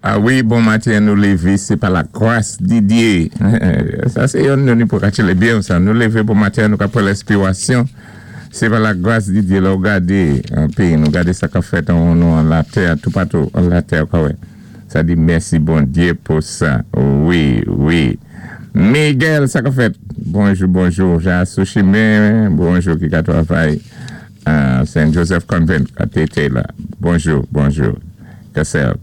A wi, bon maten, nou lévé, sé pa la gwas di Dyé. Sa sé youn nou ni pou katchélé byen sa. Nou lévé bon maten, nou ka pran lenspiwasyon. Sé pa la gwas di Dyé lè ou gadé an péyi nou, gadé sa k-ap fèt an nou an latè, toupatou an latè ou ka wè. Sa di mèsi Bondyé pou sa. Wi, wi. Miguel, sa k-ap fèt? Bonjou, bonjou. Ja sou chimen, bonjou ki ka twavay Saint Joseph Convent a TT la. Bonjou, bonjou. Kèsèl.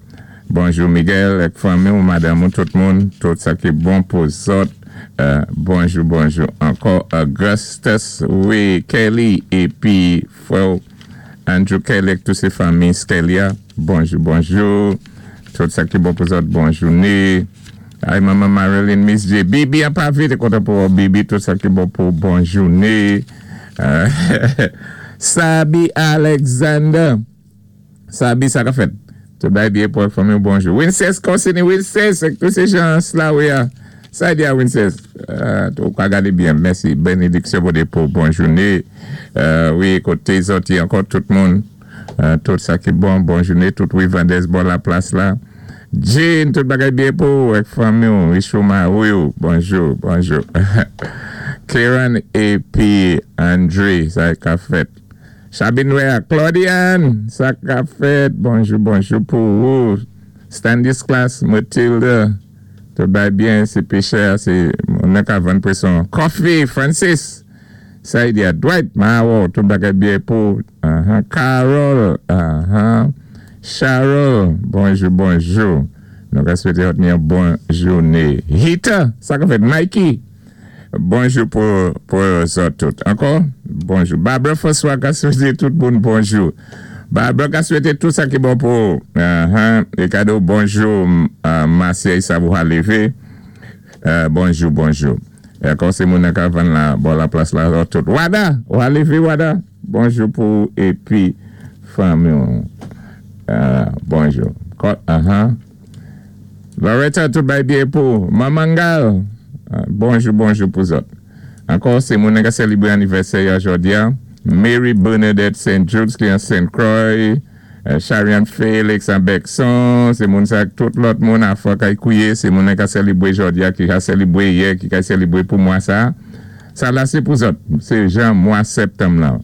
Bonjou Miguel ak fanmi ou, madanm ou, tout moun, tout sa ki bon pou zòt. Bonjou, bonjou ankò. Augustus, wi, Kelly épi frè ou Andrew Kelly ak tout sé fanmi Skelia. Bonjou, bonjou. Tout sa ki bon pou zòt, bon jouné. Ay manman Marilyn, Miss J. Bibi an pa vite kontan pou wè Bibi, tout sa ki bon pou bon jouné. Sabi Alexander. Sabi sa ka fèt? Tout bagay byen pou ak fanmi w bonjou. Winces Consini Winces ak tout se jan Slawe a. Sa di a Winces? Ou ka gade byen mèsi. Benediksyon Bondye pou bon joune. Wi kote zòt ye ankò tout moun. Tout sa ki bon bon joune tout wi Vandès bò laplas la. Jane tout bagay byen pou ou ak fanmi w Richou mari w bonjou bonjou. Keran epi Andre sa ka fèt? Chabinwè Claudiane sa kap fèt bonjou bonjou pou ou Stanisclas Mathilde tout bagay byen se pechè a se moun nan ka vann preson coffee Francis Saidia Dwight ma wè w tout bagay byen pou ou Carole Charol bonjou bonjou nou ka swete w yon bon joune Hita sa kap fèt Mikey. Bonjou pou pou zòt tout. Ankò, bonjou. Barbara François ka swete tout moun bonjou. Barbara ka swete tout sa ki bon pou ou. Ahan, Ricardo, bonjou. Marseille sa pou ha leve. Bonjou, bonjou. Ankò se moun nan ka vann la bò la plas la zòt tout. Wada, ou ha leve Wada? Bonjou pou ou epi fanmi ou. Bonjou. Ahan. Loretta tout bay byen pou ou. Manmangal bonjou bonjou pou zòt. Ankò se moun ka selibre anivèsè ya jòdi-a, Mary Bernadette Saint Judes ki an Saint Croix, Chariane Felix an Bèkson, se moun sa ak tout lòt moun afò kay kouye, se moun ka selibre jòdi-a ki ka selibre yè, ki ka selibre pou mwa sa. Sa la se pou zòt, se jan mwa septanm lan.